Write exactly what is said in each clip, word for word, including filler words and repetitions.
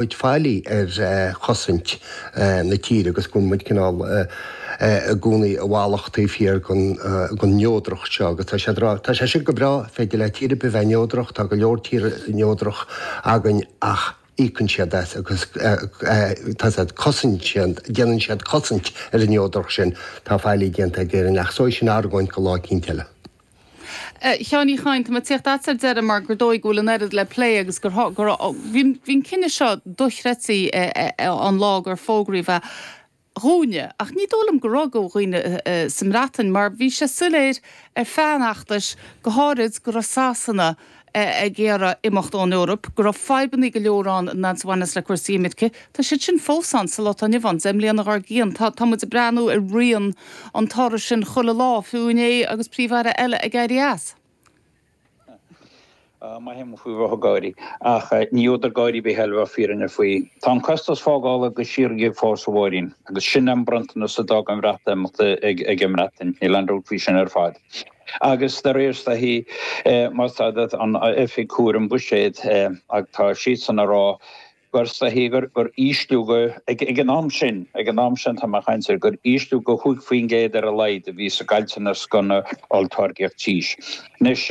muid faillí ar chosaint na tíre agus go bhfuil muid cineál i gcónaí i bhfalach taobh thiar den neodracht seo agus tá sé tá sé sin go breá, féidir le tír ar bith bheith neodrach, tá go leor tír neodrach againn ach íocann siad as agus tá siad cosaint siad déanann siad cosaint ar an neodracht sin, tá faillí déanta ag Éirinn ach so sin argóint go lá eicínt eile. Sheáin Uí Chadhain, tá mé ag tíocht agat ar deireadh mar gur dóigh go bhfuil an oiread le plé agus gur bhí an cinneadh seo dochreidte an lá gur fógraíodh é dhúinne, ach ní dóigh liom go raibh do dhaoine sa mBreatain mar bhí sé soiléir ar feadh an fheachtais go háirid go raibh Sasana ag iarraidh imeacht ón Eoraip, go raibh fadhbanna go leor ann a bhaineas le cúrsaí imirce. Tá siad sin fós ann sa lá atá inniu ann, deich mbliana dár gcionn. Tá tá muid ag breathnú ar rian an toradh sin chuile lá, fiú inné agus príomh-aire eile ag éirí as. Maithim faoi bheith ag gáirí, ach ní údar gáirí ar bith eile bheith fírinne faoi. Tá an costas fágála go síoraí ag fás a Mháirín, agus sin an bronntanas a d'fhág an Bhreatimeacht ag an mBreatain, níl aon dabht faoi sin ar fad. Agus de réir is dóichí, más ea, an Oifig Cúraim Buiséid, ach tá siadsan ag rá gur is dóichí gur gur ísliú go, ag an am sin, ag an am sin tá mé ag caint air, gur ísliú go chúig faoin gcéad ar a laghad a bhí sa gcaillteanas don olltáirgeacht tís. Anois,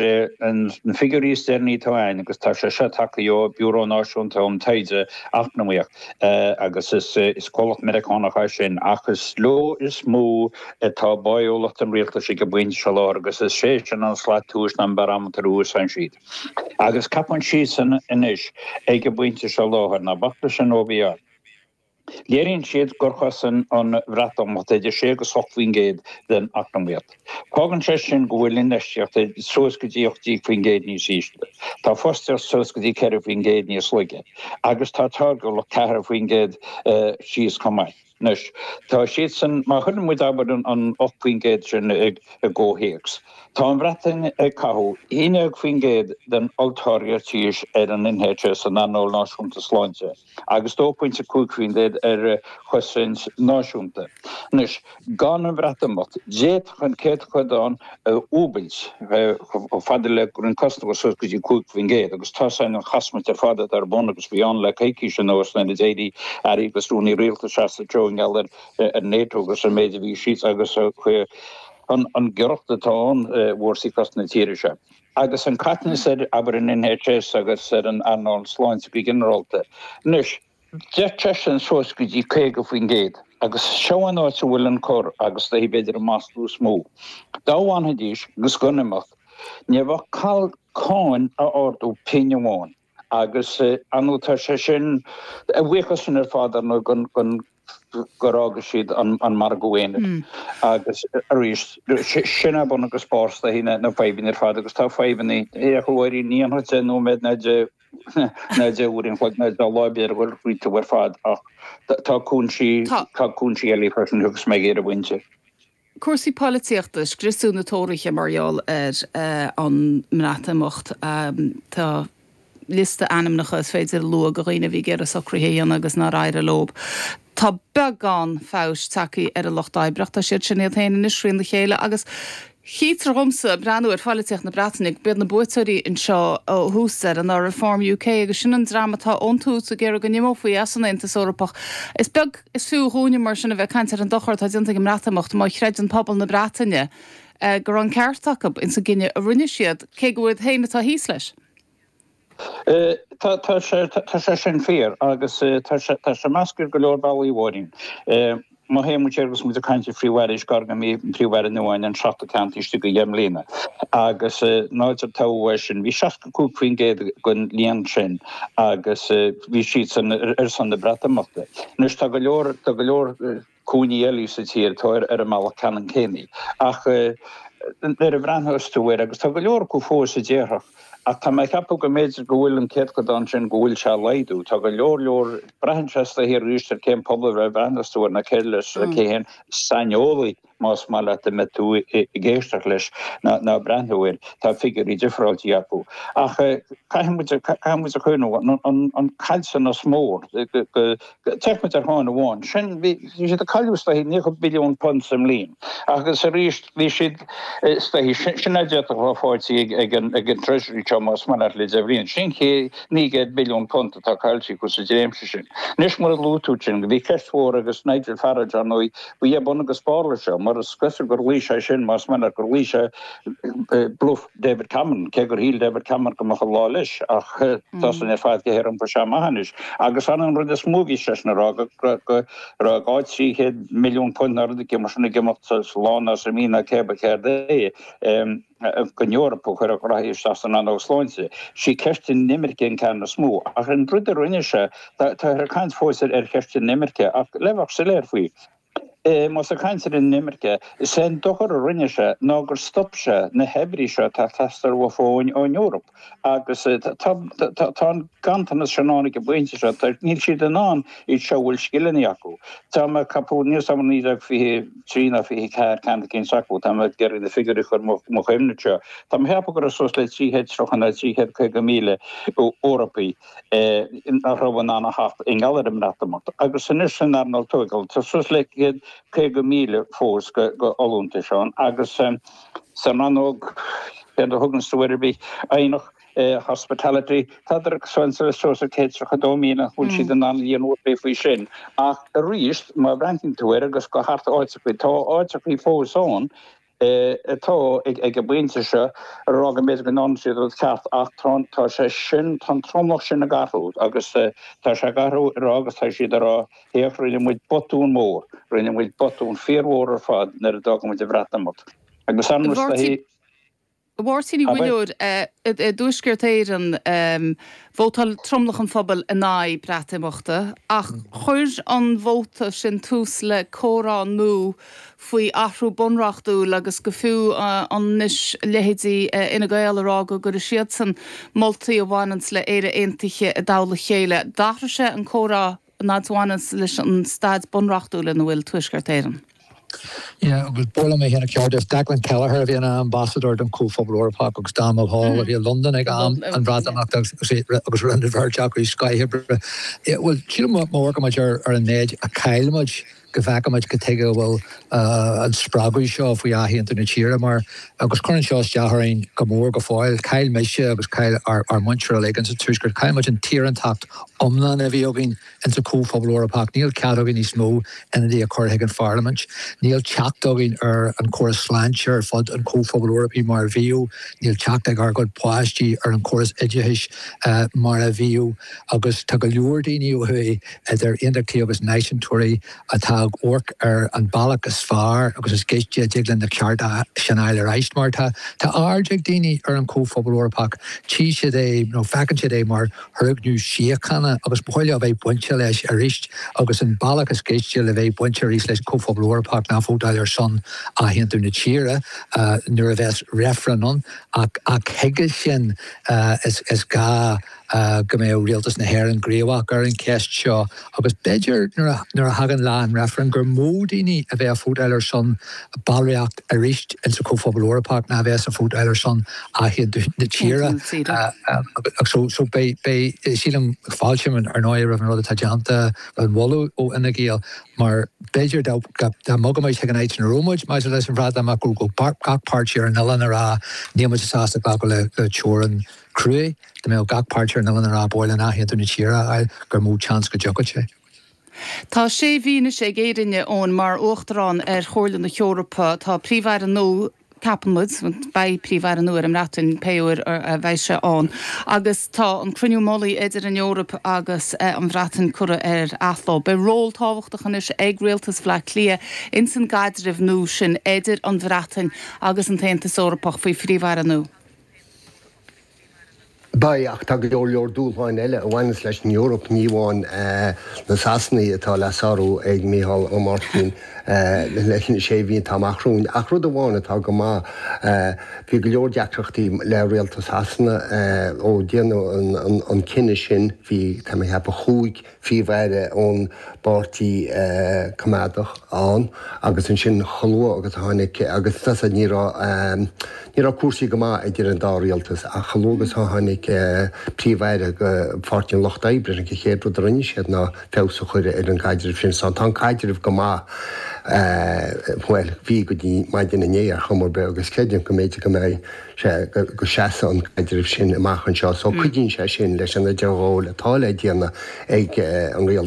na figiúirí is deireanaí atá againn, agus tá sé seo tagtha ó Biúró Náisiúnta um Taighde Eacnamaíoch, agus is is comhlacht Meiriceánach é sin, ach is leo is mó atá báúlacht an rialtais ag an bpointe seo láthair agus is é sin an slat tomhais ná an barometer a úsáideann siad. Agus ceapann siadsan anois ag an bpointe seo láthair, ná bac leis an OBR, léiríonn siad gur chosain an Bhreatimeacht idir sé agus ocht faoin gcéad den eacnamaíocht. Fágann sé sin go bhfuil infheistíocht suas go dtí ocht déag faoin gcéad níos ísle, tá fostaíocht suas go dtí ceithre faoin gcéad níos laige agus tá táirgiúlacht ceathair faoin gcéad síos chomh maith. Anois, tá siadsan, má chuireann muid abair an ocht faoin gcéad sin i gcomhthéacs, tá an Bhreatain ag caitheamh aon déag faoin gcéad den olltáirgeacht tís ar an NHS, an Earnáil Náisiúnta Sláinte, agus dó pointe cúig faoin gcéad ar chosaint náisiúnta. Anois, gan an Bhreatimeacht, d'fhéadfadh an céatadán a dhúbailt chomh fada le go raibh an costas suas go dtí cúig faoin gcéad, agus tá sin an chasmairt ar fad atá ar bun agus bhí ann le coicís anuas nuair a d'éirigh airí agus rúnaí rialtais as an treo i ngeall ar NATO agus an méid a bhí siad agus an ghiorracht atá ann i bhfórsaí cosanta na tíre seo. Agus an caiteachas ar, abair, an NHS agus ar an earnáil sláinte go ginearálta. Anois, d'fhéadfadh sé sin suas go dtí caoga faoin gcéad agus seo an áit a bhfuil an cor agus is dóichí b'fhéidir an maslú is mó. Dá bhfanfaidís agus gan imeacht, ní bheadh call cáin a ardú pingin amháin agus ar ndóigh tá sé sin, a bhuíochas sin ar fad ar ndóigh gon gur fhága siad an margadh aonair agus arís sin é bun agus barr is dóichí na fadhbanna ar fad agus tá fadhbanna, a Mháirín, ní dhéanfadh deich nóiméad ná deich ná deich uair an chloig ná deich lá b'fhéidir a dhul fríothu ar fad ach tá cúinsí tá cúinsí eile freisin agus mé ag iarraidh baint. Cúrsaí polaitíochta, scriosadh na Tóraithe mar gheall ar an mBreatimeacht. Tá liosta ainmneacha is féidir a lua de dhaoine a bhí ag iarraidh socruithe a dhéanamh agus nár éirigh leo. Tá beagán feabhais tagtha ar an Lucht Oibre ach tá siad sin iad féin anois thrína chéile agus chítear dhomsa, ag breathnú ar pholaitíocht na Breataine, gurb iad na buaiteoirí anseo ó thús deireadh ná Reform UK agus sin an dream atá ón tús ag iarraidh go n-imeofaí as an Aontas Eorpach. Is beag is fiú dhúinne mar sin a bheith ag caint ar an dochar atá déanta ag an mBreatimeacht má chreideann pobal na Breataine go raibh an ceart acu ins an gcinneadh a rinne siad, cé go iad féin atá thíos leis. Tá tá sé tá sé sin fíor agus tá sé tá sé measctha ar go leor bealaí a Mháirín. Má théann muid siar agus muid ag caint ar Phríomh-Aire is gar go mbeidh an Príomh-Aire nua againn an seachtú ceann taobh istigh de dheich mbliana agus nuair a toghadh é sin bhí seasca cúig faoin gcéad den líon sin agus bhí siadsan ar son na Breatimeachta. Anois tá go leor tá go leor cúinní eile sa tír atá ar an mbealach ceannann céanna ach nuair a bhreathnós tú air agus tá go leor acu fós a déarfadh ach tá mé ag ceapadh go mb'fhéidir go bhfuil an céatadán sin go bhfuil sé ag laghdú. Tá go leor leor, braitheann sé is dóichí arís ar cén pobal a bhreathnós tú air nó cé leis cé hé an saineolaí más maith leat a mbeidh tú ag éisteacht leis ná ag breathnú air, tá figiúirí difreáilte acu. Ach caithfidh muid caithfidh muid a chuimhneamh an caillteanas mór go féach muid ar cheann amháin sin bhí siad ag cailleadh is dóichí naocha billiún punt sa mbliain agus arís bhí siad is dóichí sin a d'fhéadfadh a bheith faighte ag an ag an Treasury seo más maith leat le deich bhliain. Sin naoi gcéad billiún punt atá caillte acu sa dréimse sin. Anois mar a luaigh tú sin, bhí ceist mhór agus Nigel Farage ar ndóigh, ba é bun agus barr leis seo, mar is cosúil gur luigh sé sin, más maith leat, gur luigh sé bluff David Cameron, cé gur shíl David Cameron go mbeadh an lá leis, ach tá san ar fad go hiompaithe amach anois. Agus an rud is mó a bhí seisean a rá go raibh dhá trí chéad milliún punt nó rud éigin mar sin ag imeacht sa lá nó sa mhí nó cé ba céard é. Don Eoraip a chuirfeadh rath isteach san rannóg sláinte. Sí ceist an imirce an ceann is mó. Ach an rud a rinne sé, táthar ag caint fós ar cheist an imirce, ach le bheith soiléir faoi, más ag caint ar an imirce, is é an dochar a rinne sé ná gur stop sé na hoibrithe seo atá ag teastáil uafa ón Eoraip. Agus tá an ganntanas sin ann ag an bpointe seo, níl siad in ann iad seo a bhfuil scileanna acu. Tá mé ag ceapadh, níl 's agam naoi déag fiche trí ná fiche ceathair ceann eicínt acu, tá mé ag iarraidh na figiúirí a chur mo chuimhne anseo, tá mé ag ceapadh go raibh suas le trí chéad tríocha nó trí chéad caoga míle Eorpaigh nach raibh in ann a theacht i ngeall ar an mBreatimeacht. Agus anois san earnáil tógála, tá suas le céad caoga míle fós de fholúntais ann agus san rannóg, céard a thugann tú air ar bith, aonach, hospitality, tádar ag suas le suas le céad tríocha dó míle nach bhfuil siad in ann líon ar bith faoi sin. Ach arís, má bhreathnaíonn tú air agus go thart áiteachaí, tá áiteachaí fós ann atá ag an bpointe seo a rá go mb'fhéidir go ndearna siad rud ceart ach tá tá sé sin, tá an tromlach sin ag athrú agus tá sé ag athrú a rá agus tá siad ag rá, féach, rinne muid botún mór, rinne muid botún fíormhór ar fad nuair a d'fhág muid an Bhreatimeacht. Agus an rud A Mháirtín Uí Mhuilleoir, i dTuaisceart Éireann, vótáil tromlach an phobail in aghaidh Breatimeachta, ach chuir an vóta sin tús le comhrá nua faoi athrú bunreachtúil agus go fiú anois leithéidí Fhine Gael ag rá go gcuirfidh siadsan moltaí a bhaineanns le Éire Aontaithe i dtoll a chéile. D'athraigh sé an comhrá an fhad a bhaineanns leis an staid bunreachtúil ina bhfuil Tuaisceart Éireann. Yeah, agus ba mhaith liom é féin a cheartú, Declan Kelleher a bhí ina ambasadóir don Chomhphobal Eorpach agus Dan Mulhall a bhí i Londain ag am an Bhreatimeachta agus rinne an bheirt acu scoith oibre. Bhuel, sílim má amharcann muid ar an méid a chaill muid go bhfeiceann muid cad tuige a bhfuil an spreagadh seo faoi athaontú na tíre mar, agus cuireann seo isteach orainn go mór go fóill, chaill mise agus chaill ár muintir uilig insa Tuaisceart, chaill muid an tsaorántacht iomlán a bhí againn insa Chomhphobal Eorpach. Níl cead againn níos mó ionadaí a chur chuig an Pharlaimint. Níl teacht againn ar an chóras sláinte ar fud an Chomhphobail Eorpaigh mar a bhíodh. Níl teacht ag ár gcuid páistí ar an chóras oideachais mar a bhíodh. Agus tá go leor daoine ó thuaidh, idir aontachtaithe agus náisiúntóirí, atá ag amharc ar an bealach is fearr agus is gaiste a dtig linn na cearta sin a fháil ar ais. Mar tá aird ag daoine ar an Chomhphobal Eorpach, tchí siad é nó feiceann siad é mar fhoirgneamh síochána agus ba mhaith leo a bheith bainte leis arís agus an bealach is gaiste le bheith bainte arís leis an Chomhphobal Eorpach ná vótáil ar son athaontú na tíre nuair a bheas reifreann ann ach chuige sin is gá go mbeadh Rialtas na hÉireann gníomhach ar an cheist seo agus b'fhéidir nuair a thagann lá an reifrinn gur mó daoine a bheas ag vótáil ar son ballraíocht arís insa Chomhphobal Eorpach ná a bheas ag vótáil ar son athaontú na tíre. So so beidh beidh sílim fáiltím ar ndóigh roimh an rud atá déanta roimh an mholadh ó Fhine Gael mar b'fhéidir dá dá mbogfadh muid chuig an áit ina raibh muid maidir leis an Bhreatimeacht go raibh gach páirtí ar an oileán ag rá níl muid sásta glacadh le le teorainn cruaidh, dá mbeadh gach páirtí ar an oileán ag rá ba mhaith linn athaontú na tíre a fháil gur mó seans go dtiocfadh sé. Tá sé mhí anois ag Éirinn, Eoin, mar Uachtarán ar Chomhairle na hEorpa. Tá Príomh-Aire nua, ceapann muid, beidh Príomh-Aire nua ar an mBreatain pé uair a bheidh sé ann, agus tá an cruinniú mullaigh idir an Eoraip agus an Bhreatain curtha ar athló. Beidh ról tábhachtach anois ag Rialtas Bhaile Átha Cliath ins an gcaidreamh nua sin idir an Bhreatain agus an tAontas Eorpach faoi Phríomh-Aire nua. Beidh, ach tá go leor leor dúshláin eile a bhaineas leis an Eoraip, ní amháin na Sasanaigh atá le sárú ag Mícheál Ó Máirtín leis na sé mhí atá amach romhainn. Ach rud amháin atá go maith, bhí go leor deacrachtaí le rialtas Shasana ó déanadh an cinneadh sin, bhí, tá mé ag ceapadh, chúig Phríomh-Aire ón bPáirtí Coimeádach ann agus ansin chomh luath agus a tháinig, agus tá ní raibh, ní raibh cúrsaí go maith idir an dá rialtas ach chomh luath agus a tháinig Príomh-Aire de Pháirtí an Lucht Oibre, an chéad rud a rinne siad ná feabhas a chur ar an gcaidreamh sin. So tá an caidreamh go maith, bhuel, bhí go dtí maidin inné ar chuma ar bith agus creidim go mb'fhéidir go mbeidh sé, go seasfaidh an caidreamh sin amach anseo. So cuidíonn sé sin leis an idirghabháil atá le déanamh ag an rialtas.